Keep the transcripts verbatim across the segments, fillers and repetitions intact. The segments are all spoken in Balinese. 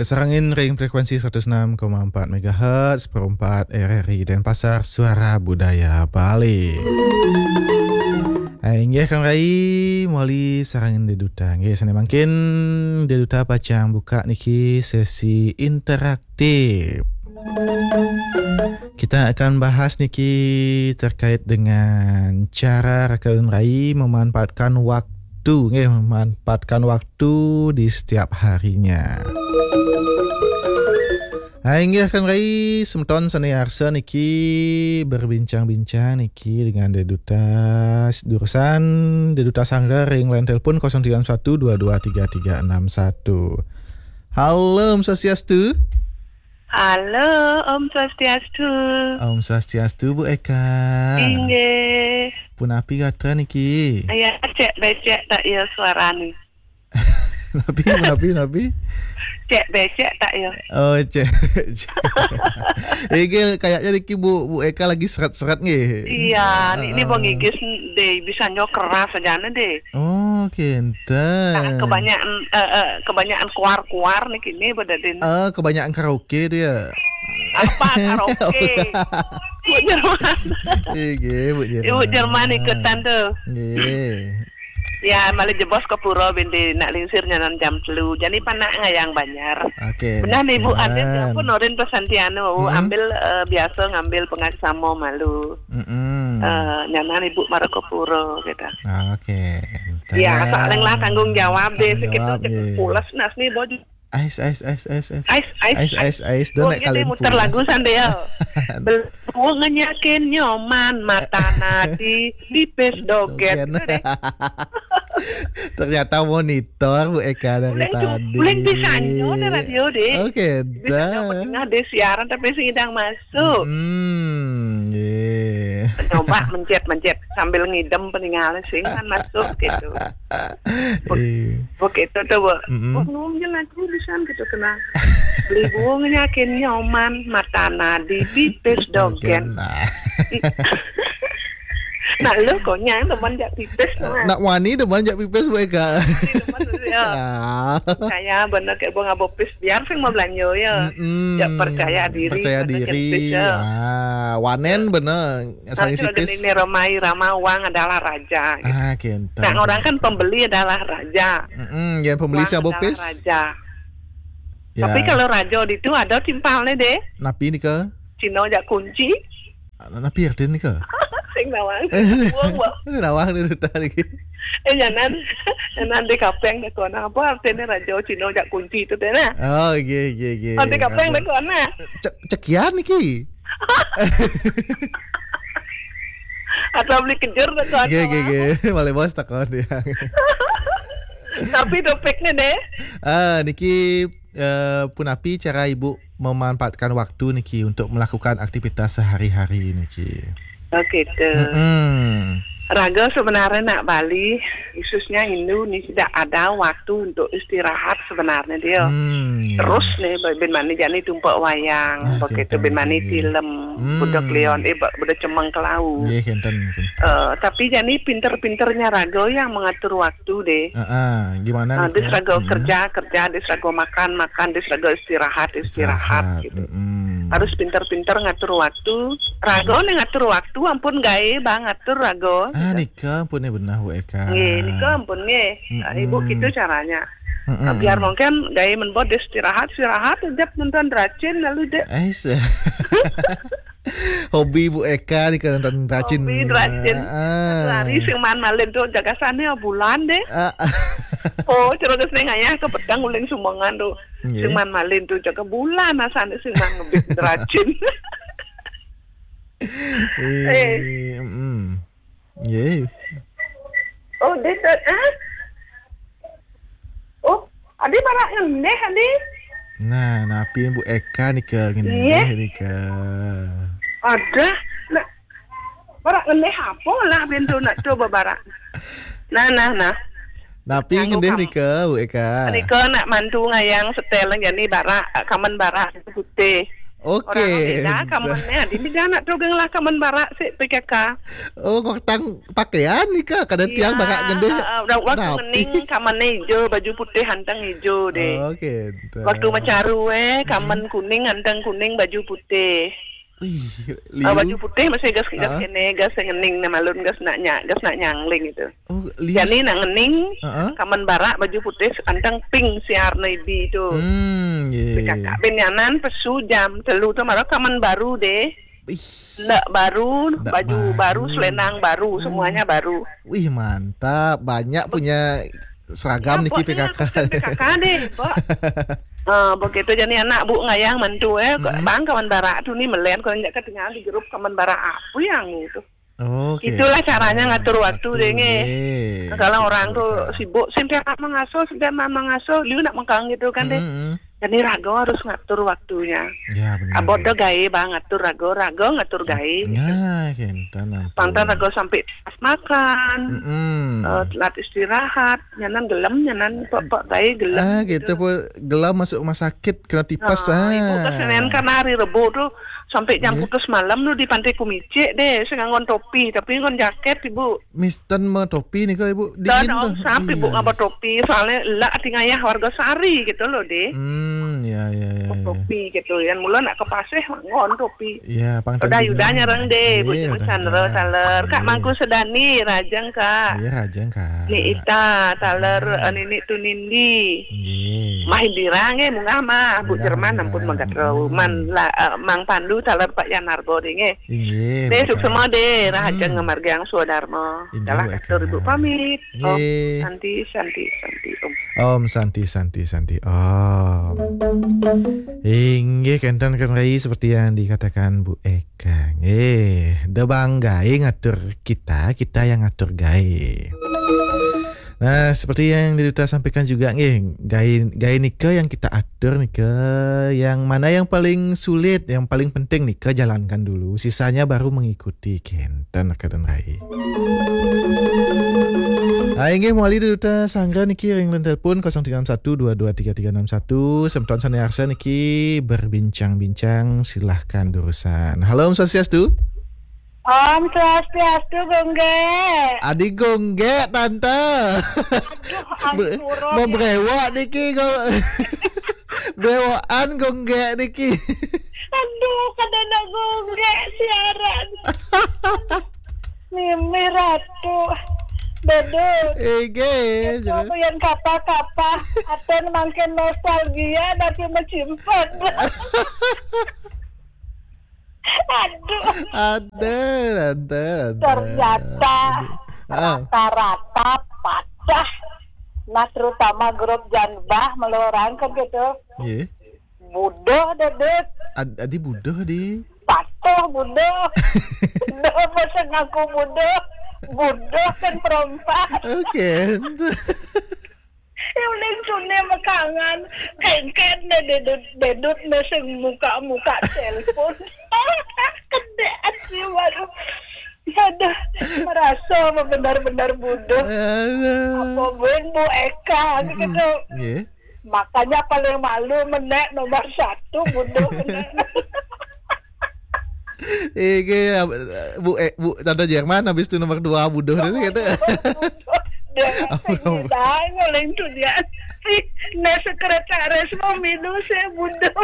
Kasarengin ring frekuensi seratus enam koma empat megahertz, perempat R R I Denpasar, Suara Budaya Bali. Hai, inggih Kang Rai, muli sarengin Dé Duta. Nggih, sané mangkin Dé Duta pacang buka niki sesi interaktif. Kita akan bahas niki terkait dengan cara rakan rai memanfaatkan waktu, nggih, memanfaatkan waktu di setiap harinya. Hai, inggih Kang Rai, semeton sané arsa niki berbincang-bincang niki dengan Dé Duta, durusang Dé Duta Sanggar ring line telepon kosong tiga enam satu dua dua tiga tiga enam satu. Halo, Om Swastiastu. Halo, Om Swastiastu. Om Swastiastu, Bu Eka. Inggih. Punapi gatra niki? Ya, cek becek tak ya suarane. Napi, napi, napi? Cek becek tak ya? Oh, cek. Inggih, kayaknya niki Bu, Bu Eka lagi seret-seret nggih. Iya, ini, ini Heeh. Bang Igis deh, bisa nyok keras aja deh. Oh, kinten. Nah, kebanyakan, eh, eh, kebanyakan keluar-keluar nih kini, Bu Dadin. Eh, kebanyakan karaoke dia. Apa karaoke? Bu Jerman. Nggih, Bu Jerman. Ibu Jerman ikutan tuh. Nggih. Ya, malih jebos ke pura bindi nak lingsir nyanan jam telu. Jani panak ngayang banjar. Oke. Benar nih, Bu, kinten. Ada ya pun Norin Pesantiano, Hmm? Ambil, eh, biasa ngambil pengaksamo malu. Mm-mm. Eh, nyanan ibu mara ke pura, gitu. Ah, oke. Ya, kinten. Saling lah tanggung jawab deh, Tanggung segitu jawab, cek nggih. Pules nas nih, Bo. Ais, ais, ais, ais, ais. Ais, ais, ais, ais. Don nek kali muter pules. Lagu sande ya. Belum ngenyakin nyoman, mata nadi, pipis doget. Dogen. Gitu deh. Ternyata monitor Bu Eka dari tadi. Uling bisa nyo nih radio deh. Oke, bisa nyo dah. Tengah deh siaran tapi sing idang mas. Masuk. Hmm, nggih. Coba mencet-mencet sambil ngidem peninggalan sing kan masuk gitu. Buk-, Iya. Buk itu tuh, Bu. Mm-mm. Wah, ngomongnya lagu di sana gitu kena. Beli bunga nyakin nyoman, mata nadi, pipis dogen. Dogen, nah. Nah, lu konyang teman jak pipis, nah. Nak wani teman jak pipis, Bu Eka. Wani teman, ya. Ah. Saya bener kayak bunga bopis. Biar sing mau belanja ya. Mm-mm. Ya, percaya diri, percaya diri. Ah, wanen bener. Nah, asal isi pis. Ini Roma Irama, uang adalah raja, gitu. Ah, kinten. Nah, orang kan pembeli adalah raja. Mm-mm, yang pembeli uang siapa adalah pis? Raja. Ya. Tapi kalau raja itu ada timpalnya deh. Napi nika? Cino jak kunci. Napi artinya nika? Sing nawang. Wong, wong. Sing nawang ni duta niki. Eh, jangan, jangan di kapeng deh kona. Apa artinya raja Cina jak kunci itu deh, nah? Oh, nggih, nggih, nggih. Nanti kapeng deh kona. Cek, cekian niki. Atau beli kejur deh kona. Nggih, nggih, nggih. Malih bos takon ya. Tapi topiknya deh. Ah, niki eh, punapi cara ibu memanfaatkan waktu niki untuk melakukan aktivitas sehari-hari niki? Oke, tuh. Mm-mm. Raga sebenarnya nak Bali, khususnya Hindu nih tidak ada waktu untuk istirahat sebenarnya dia. Hmm, iya. Terus nih, ben mani jani tumpak wayang, nah, begitu kinten, ben mani iya. Film, hmm. Budak Leon, eh, bu-, budak cemeng kelau. Iya, kinten, kinten. Eh, tapi jani pinter-pinternya raga yang mengatur waktu deh. Heeh, gimana nah, nih, Kak? Dis raga kerja, kerja, dis raga makan, makan, dis raga istirahat, istirahat, istirahat, gitu. Mm-mm. Harus pinter-pinter ngatur waktu. Raga nih ngatur waktu, ampun gaé bang ngatur raga, ah, gitu. Nika ampun nih benah, Bu Eka. Nggih, nika ampun nggih. Mm-mm. Ibu gitu caranya. Mm-mm. Biar mungkin gaé men bod istirahat, istirahat, ujab nonton racin lalu deh. Eh, se- Hobi Bu Eka nih kan nonton racin. Hobi racin. Ah. Satu hari sing man malin tuh jaga sana bulan deh. Ah. Oh, cerita sing ayah ke petang uling sumbangan tuh. Nggih. Sing man malin tuh jaga bulan asane sing man ngebit racin. Eh, eh. Mm. Nggih. Oh, dia tak, ah? Oh, adi marak ngendih, adi? Nah, napi Bu Eka nika ngendih nika? Ada. Nah, marak ngendih apa lah pintu nak coba barak. Nah, nah, nah. Napi ngendih nika, Bu Eka? Nika nak mantu ngayang setel jani barak, kamen barak putih. Oke. Orang beda kamannya. Ini dia anak tuh geng lah kaman barak si P K K. Oh, ngortang pakaian nih, Kak. Kadang tiang barak gendeh. Udah waktu ngening kamannya hijau, baju putih hanteng hijau deh. Oke. Waktu macaru eh, kaman kuning hanteng kuning, baju putih. Wih, ah, baju putih masih gas gas kene, gas ngening, nah malun gas nak nya, gas nak nyangling itu. Oh, lius. Jadi nak ngening, kaman barak baju putih anteng pink siar nebi tu. Hmm, ye. Kakak bin nyanan pesu jam telu tu malah kaman baru deh. Ih. Ndak baru, ndak baju baru, baru, selendang baru, semuanya baru. Wih, mantap. Banyak punya seragam niki P K K. P K K deh, Pak. Ah, begitu jadi anak bu ngayang mantu eh, bang kaman barak tu ni melian kalau ndak ketinggalan di grup kaman barak apa yang itu. Oke. Itulah caranya ngatur waktu deh nge. Kalau orang tuh sibuk, sing tiap mengasuh, sing tiap mengasuh, liu nak mengkang gitu kan deh. Jadi rago harus ngatur waktunya. Ya, benar. Abot do gae bang ngatur rago, rago ngatur gae. Nah, kenten ampun. Pantang rago sampai pas makan, eh, telat istirahat, nyanan gelem, nyanan pok-pok gae gelem. Ah, gitu, gitu. Gelem masuk rumah sakit kena tipes. Nah, ah. Ibu kesenian kan hari Rebo tuh sampai jam putus malam lu di Pantai Kumicik deh, saya ngon topi, tapi ngon jaket ibu. Misten mau topi nih kok ibu. Dingin tuh. Sampai ibu ngapa topi, soalnya lah tinggal ya warga sari gitu loh deh. Hmm, ya, ya, ya. Topi gitu, yang mula nak ke pasir ngon topi. Iya, pang. Udah Yuda nyerang deh, bu Chandra taler. Kak Mangku Sedani, rajang kak. Iya, rajang kak. Ni Ita taler, eh, Nini Tunindi. Nggih. Mah Indira nggih, munggah mah. Bu Jerman ampun magat rau. Man la, eh, Mang Pandu taler Pak Yanarbo deh nggih. Inggih. Deh, suksema deh, rahaja ngamargiang swadarma. Inggih, dalah Bu Eka. Ibu pamit. Om Santi, Santi, Santi, Om. Om Santi, Santi, Santi, Om. Inggih, kenten kan Rai seperti yang dikatakan Bu Eka. Nggih, da bang gae ngatur kita, kita yang ngatur gae. Nah, seperti yang Duta sampaikan juga nggih, gae, gae nika yang kita atur nika, yang mana yang paling sulit, yang paling penting nika jalankan dulu, sisanya baru mengikuti, kenten kenten Rai. Hai, nggih, mawali Duta Sangga niki ring telepon kosong tiga enam satu dua dua tiga tiga enam satu. Semeton sane arsa niki berbincang-bincang, silahkan durusan. Halo, Om Swastiastu. Om Swastiastu, Gongge. Adi Gongge, Tante. Aduh, membrewok niki kok. Brewokan Gongge niki. Aduh, kada ada Gongge siaran. Mimi Ratu. Bedul. Ege. Itu yang kapa-kapa. Aten makin nostalgia tapi mencimpan. Aduh. Ada, ada, ada. Ternyata rata-rata patah. Nah, terutama grup Janbah melorang kan gitu. Iya. Budoh, Dedek. Ad-, adi budoh di. Patuh budoh. Budoh, masa ngaku budoh. Budoh kan perompak. Oke. Ya uling tune makangan. Kengken deh Dedut, Dedut ne sing muka-muka telepon. Kedek sih baru. Aduh, merasa benar-benar bodoh. Aduh. Apa buin Bu Eka gitu. Nggih. Makanya paling malu menek nomor satu bodoh menek. Iki, Bu, eh, Bu, Tante Jerman habis itu nomor dua bodoh deh gitu. Dia nguling tuh dia. Si, nah, sekretaris mau minum saya bodoh.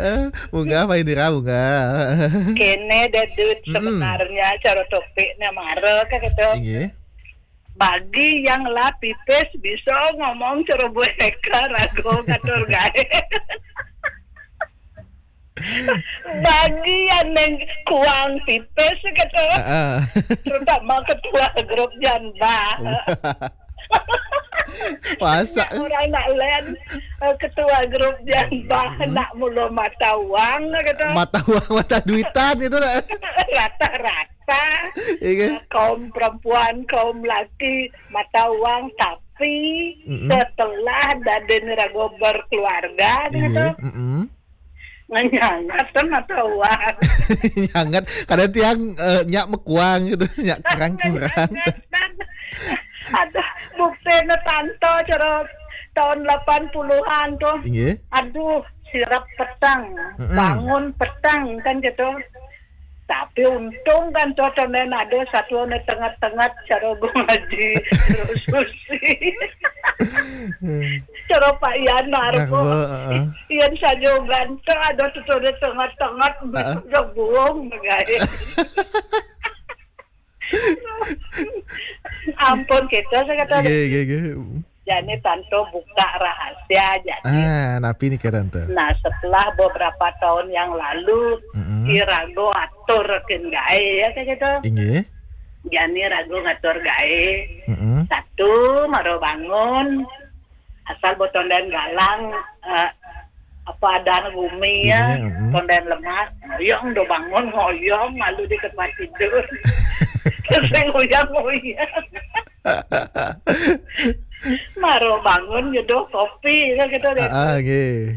Eh, munggah apa ini, Ra, munggah? Kene, Dedut, sebenarnya cara topiknya marah kan gitu. Iya. Bagi yang lah pipis bisa ngomong cara Bu Eka rago ngatur gae. Bagi yang neng kuang pipis gitu. Heeh. Terutama ketua grup Janbah. Masa? Orang nak lain, eh, ketua grup Janbah, nak mula mata uang gitu. Mata uang, mata duitan gitu lah. Rata-rata. Iya. Kaum perempuan, kaum laki, mata uang, tapi setelah dadin rago berkeluarga gitu. Iya, mm-mm. Nganyangat kan mata uang. Nyangat, kadang tiang, eh, nyak mekuang gitu, nyak kurang-kurang. Aduh, bukti ne tanto cara tahun delapan puluhan tuh. Iya. Aduh, sirap petang, Mm-mm. bangun petang kan gitu. Tapi untung kan tuh tondén ada satu anu tenget-tenget cara ngaji terus susi. Cara Pak Ian Narbo. Narbo, heeh. Ian sajogan tuh ada tuh tondén tenget-tenget, heeh, bisa buang, guys. Ampun, kita saya kata. Nggih, nggih, nggih. Jani tanto buka rahasia, jadi. Ah, napi nika, Tante? Nah, setelah beberapa tahun yang lalu, mm-mm, si rago atur kin gaé, ya, kayak gitu. Inggih. Jani rago ngatur gaé. Mm-mm. Satu, maro bangun, asal bo tondén galang, eh, apa ada bumi ya, iya, mm-mm, tondén lemak, ngoyong do bangun, ngoyong, lalu di tempat tidur. Terus saya ngoyang-ngoyang. Maro bangun nyeduh kopi, kan gitu deh. Ah, ah, nggih.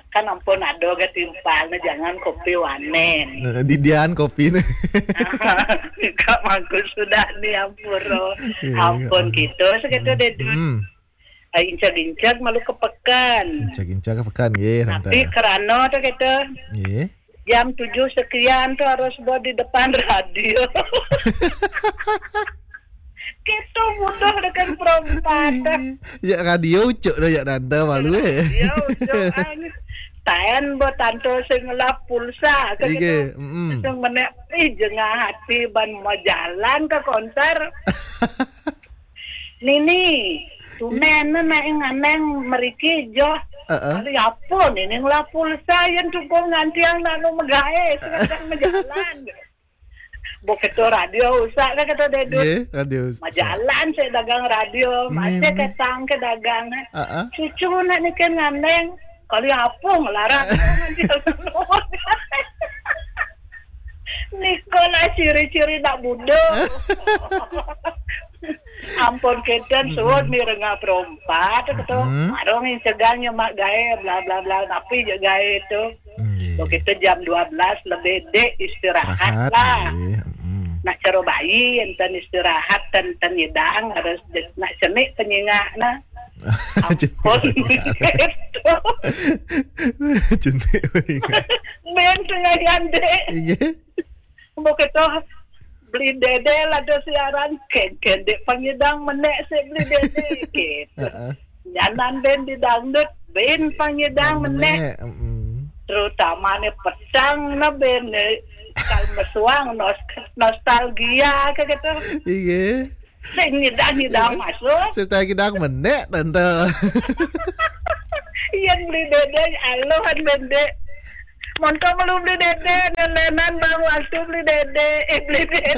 Kan ampun ada gatimpal, nah, jangan kopi wanen. Nah, didian kopi nih. Kak mangku sudah nih, ampun, oh. Iya, ampun, iya, gitu, segitu deh, Dun. Hmm. Ah, incag-incag malu ke pekan. Incag-incag ke pekan, nggih, tapi Tante. Kerana tuh gitu. Nggih. Jam tujuh sekian tuh harus buat di depan radio. Kita mudah dengan perompak. Ya, radio ucuk dah, ya, Tante, malu, eh. Ya, ucuk, ang. Taen buat tante sing ngelap pulsa, kan gitu. Nggih, mm-mm. Sing menek, ih, jengah hati ban mau jalan ke konser. Nini, tunen na naik nganeng meriki joh. Heeh. Kali apa Nini ngelap pulsa yang tukung ngantiang nak nu megae, sedang mejalan. Bok ketua radio usak kan kata Dedut. Nggih, radio usak. Majalan saya dagang radio, nggih, masih nggih. Ketang ke dagang. Heeh. Cucu nak ni kan nganeng, kali apa ngelarang nanti. Nikola ciri-ciri nak budak. Ampun, keten, mm-mm, suud ni rengah perompak tu, mm-mm, warung yang segang nyemak gae, bla, bla, bla, tapi je gae tu. Nggih. Begitu jam dua belas lebih dek istirahat. Istirahat, lah. Nggih, mm-mm. Nak caro bayi, enten istirahat, enten, enten nyidang, harus je-, nak cenik penyingak nah. Ampun. Cenik penyingak. Ben tengah gandek. Nggih. Mau kita beli dede lah ada siaran, ken-, ken dek pangidang menek sik beli dede, gitu. Heeh. Nyanan ben di dangdut, ben pangidang menek. Menek, mm-mm. Terutama ni petang na ben ni, kal mesuang nos-, nostalgia ke gitu. Iya. Sing nyidang-nyidang masuk. Sing nyidang menek, Tante. Iya, beli dede, alohan dede. Monto belum beli dede, nelenan bang waktu beli dede, eh, beli dede.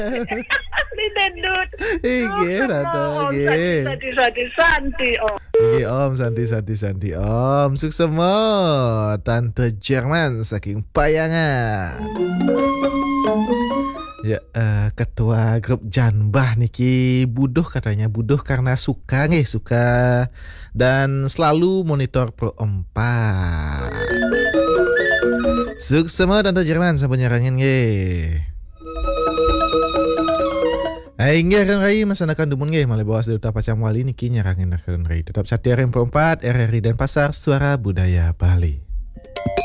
Beli dedut. Iya, Tante, iya. Santi, santi, santi, Om. Iya, Om, santi, santi, santi, Om. Suksema, Tante Jerman, saking Payangan. Ya, eh, ketua grup Janbah niki buduh katanya, buduh karena suka nggih, suka dan selalu monitor Pro Empat. Suksema Tante Jerman sampun nyarengin nggih. Eh, inggih Ren Rai, masanakan dumun nggih, malih baos Duta Pacang Wali niki nyarengin Ren Rai. Tetap setia ring Pro Empat, R R I Denpasar, Suara Budaya Bali.